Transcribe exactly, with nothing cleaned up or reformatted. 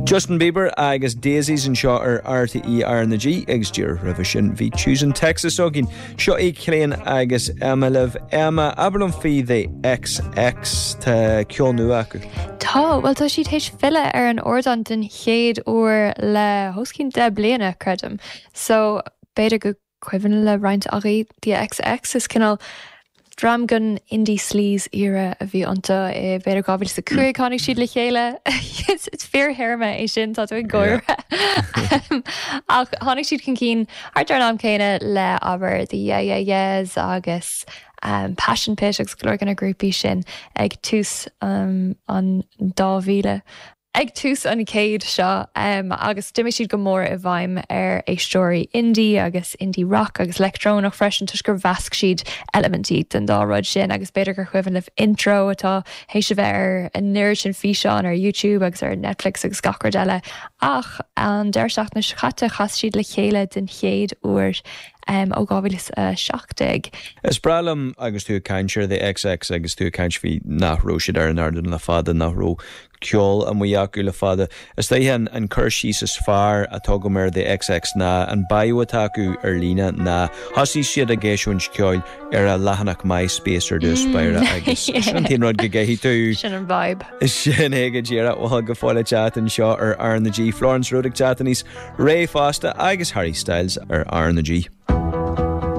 Justin Bieber agus Daisies anseo ar RTÉ R na G agus díreach roimhe sin bhí Choosing Texas againn. Seo é Cillian agus Emma libh Emma abair liom faoi The XX tá ceol nua acu. Tá well tá siad théis filleadh ar an ardán den chéad uair le os cionn deich bliana creidim. So b'fhéidir go cuimhin le roinnt agaibh The XX is cineál dream den indie sleaze era a bhí iontu i b'fhéidir dhá mhíle a cúig tháinig siad le chéile It's fíorthéarma é sin tá tú ag gáire. Ach tháinig siad chun cinn thart ar an am céanna le abair the Yeah Yeah Yeahs agus um, Passion Pit agus go leor de na grúpaí sin ag tús um, an dá mhíle. Ag tús an chéad seo um, agus d'imigh siad go mór i bhfeidhm ar éisteoirí indie agus indie rock agus leictreonach freisin toisc gur mheasc siad eilimintí den dá rud sin agus b'fhéidir gur cuimhin libh intro atá théis a bheith ar an oiread sin físeán ar YouTube agus ar Netflix agus gach rud eile ach an deireadh seachtaine seo caite chas siad le chéile den chéad uair um, ó dhá mhíle a seacht déag. Is breá liom agus tú ag caint ar The XX agus tú ag caint faoi nach raibh siad ar an ardán le fada nach raibh ceol amuigh acu le fada. Is dóiche an, an cur síos is fearr atá agam ar The XX ná an bio atá acu ar líne ná thosaigh siad ag eisiúint ceoil ar a leathanach MySpace ar dtús báire agus sin an t-aon rud go gcaithfidh tú Sin an vibe. Sin é go díreach bhfuil go fóill teacht anseo ar R na G Florence Road ag teacht níos réidh fosta agus Harry Styles ar R na G.